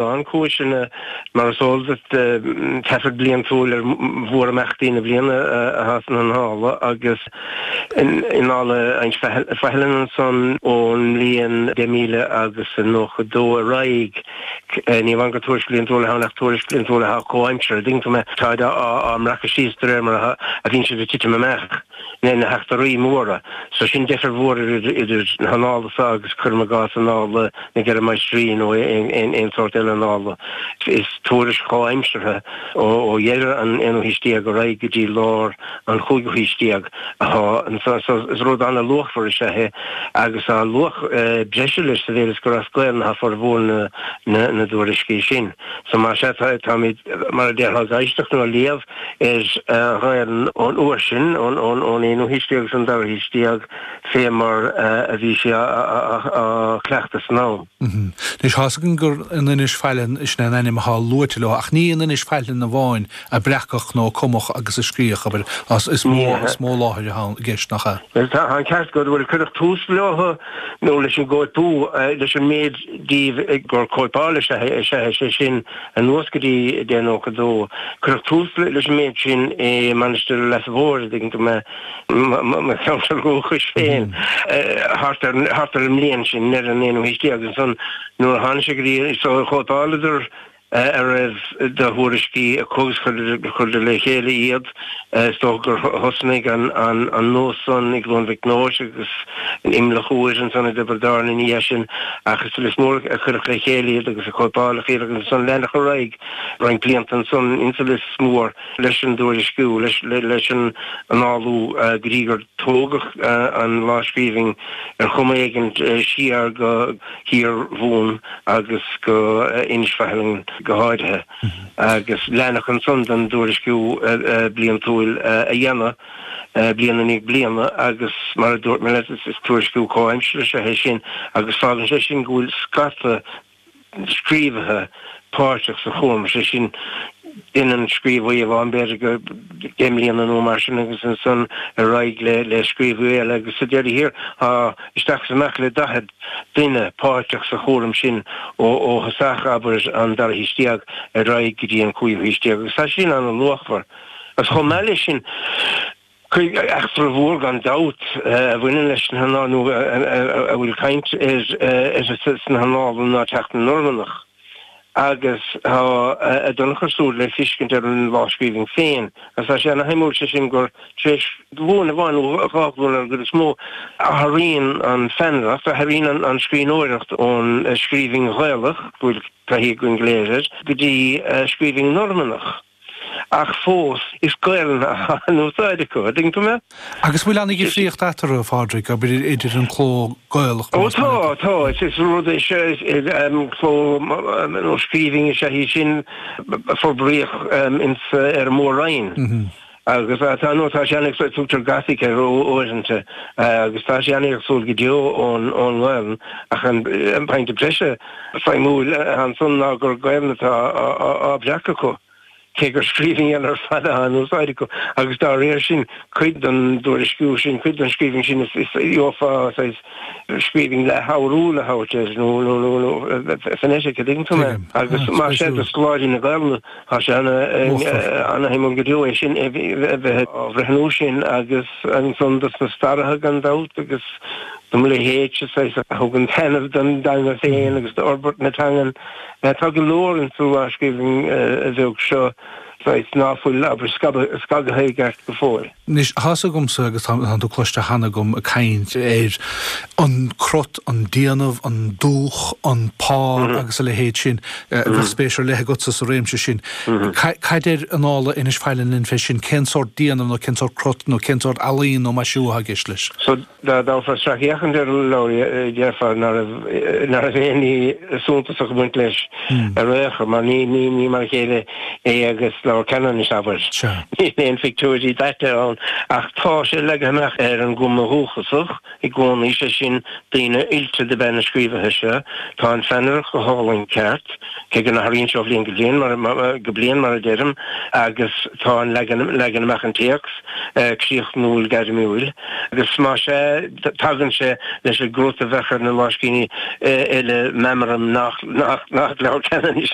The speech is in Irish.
An-chúiseanna, mar is eol duit, taifead bliantúil ar mhórimeachtaí na bliana atá sna hannála agus in Annála Inse Faithleann ansan ón mbliain 10,000 agus 92 ar aghaidh, ní amháin gur tuairisc bhliantúil atá ann ach tuairisc bhliantúil atá comhaimseartha, an dtuigeann tú mé, táid á mbreacadh síos de réir mar a bhíonn siad ag titim amach. na heachtraí móra. So sin deifir mhór idir na hannála so agus cuirim i gcás annála na gCeithre Máistrí nó aon sórt eile annála. Is tuairisc chomhaimseartha ó dheireadh an aonú haois déag ar aghaidh go dtí lár an chúigiú haois déag atá anso. So is rud an-luachmhar is ea é agus tá luach breise leis sa mhéid is gur as Gaelainn atá formhór na dtuairiscí sin. So más ea táimid, mar a déarfá, ag éisteacht nó ag léamh ar an Ghaelainn ón uair sin, ón aonú haois déag agus an dara haois déag, fé mar a bhí sí á cleachtadh san am. Anois, tá's againn gur in Inis Faithleann, sin é an ainm atá luaite leo, ach ní in Inis Faithleann amháin a breacadh nó a cumadh agus a scríodh, abair, is mó, is mó láthair atá i gceist, nach ea? Bhuel, tá an ceart agat, bhuel, cuireadh tús leo, nó leis an gcóipiú, leis an méid díobh gur cóipeáil is ea é, sé sin, Anuas go dtí 1092, cuireadh tús leis an méid sin i Mainistir Leasa Mhóir, an dtuigeann tú mé, mo cheantar dúchais féin, thart ar thart ar an mbliain sin, i ndeireadh an aonú haois déag. Ansan nuair a tháinig sé go dtí, so chóipeáladar a raibh de thuairiscí acu agus chuireadar le chéile iad. Is dócha gur thosnaigh an nós san i gCluain Mhic Nóis agus in Imleach Úir ansan i dTiobraid Árann ina dhiaidh sin ach is sa Lios Mór a cuireadh le chéile iad agus a cóipeáladh iad agus ansan leanadh ar aghaidh roinnt blianta ansan insa Lios Mór leis an dtuairisciú, leis an annálú go dtí gur tógadh an lámhscríbhinn ar chuma éigin siar go Thír Mhumhan agus go Inis Faithleann go háirithe. agus leanadh ansan den dtuairisciú bliantúil a dhéanamh bliain i ndiaidh bliana agus mar a dúirt mé leat is tuairisciú comhaimseartha is ea é sin agus fágann sé sin go bhfuil scata scríobhaithe páirteach sa chúram, sé sin déanann scríobhaí amháin b'fhéidir go 10 mbliana nó mar sin agus ansan ar aghaidh le scríobhaí eile agus sa deireadh thiar tá isteach is amach le 40 duine páirteach sa chúram sin ó thosach, abair, an dara haois déag ar aghaidh go dtí an cúigiú haois déag, agus tá sin an-luachmhar. Agus chomh maith leis sin, eachtra mhór gan dabht a bhaineann leis na hannála, nó a bhfuil caint uirthi sna hannála, ná teacht na Normannach. Agus tá a dtionchar súd le feiscint ar an lámhscríbhinn féin. Agus tá sé ana-shuimiúil, sé sin gur tar éis glúin amháin nó dhá ghlúin ar an gcuid is mó, athraíonn an pheannaireacht, athraíonn an scríbhneoireacht ón scríbhinn Ghaelach, go bhfuil taithí againn go léir air, go dtí scríbhinn Normannach. Ach fós, is Gaelainn atá in úsáid acu, an dtuigeann tú mé? Agus bhfuil an-dhifríocht eatarthu, a Phádraig, abair, idir an cló Gaelach Ó tá, tá. Is rud é seo, cló nó scríbhinn is ea í sin a forbraíodh ins ar an Mór-Roinn. Agus tá, nó tá sé an-éagsúil, tugtar Gothic air uaireanta, agus tá sé an-éagsúil go deo ón nGaelainn, ach an pointe breise suimiúil ansan ná gur Gaelainn atá á breacadh acu, cé gur scríbhinn eile ar fad atá in úsáid acu, agus dá réir sin, cuid den dtuairisciú sin, cuid den scríbhinn sin, is gheofá saghas scríbhinn leath-fhoghrúil a thabhairt air, nó phonetic, an dtuigeann tú mé? Agus más ea do scoláirí na Gaelainne, Tá sé ana-shuimiúil go deo é sin a bheith á bhreithniú sin agus ansan dos na staraithe gan dabht agus do mo leithéidse saghas a thugann taitneamh don dteanga féin agus d'fhorbairt na teangan. Tá go leor insa lámhscríbhinn bheag seo saghas ná fuil abair scagaithe i gceart go fóill. Anois, tá's agamsa, agus tá tú cloiste cheana agam ag caint ar an crot, an déanamh, an dúch, an pár agus a leithéid sin. Bheadh spéis ar leith agatsa sa réimse sin. Cad deir Annála Inis Faithleann linn fé sin? Cén sórt déanamh nó cén sórt crot nó cén sórt ealaín nó maisiú atá i gceist leis? So, dá dtabharfá sracfhéachaint ar an leabhar, déarfá ná raibh aon ní suntasach ag baint leis ar aon chor, mar ní mar a chéile é agus. leabhar Ceanannais, abair. Níl aon phictiúirí daite ann ach tá sé leagtha amach ar an gcuma dhúchasach i gcónaí, sé sin, daoine oilte dob ea na scríobhaithe seo. Tá an pheannaireacht go hálainn ceart, cé go n-athraíonn sé ó bhliain go bliain, mar, go bliain, mar a deirim, agus tá an leagan, leagan amach an téacs críochnúil gairmiúil. Agus más ea, tagann sé leis an gcrut a bheadh ar na lámhscríbhinní eile, meamraim nach, nach, nach leabhar Ceanannais.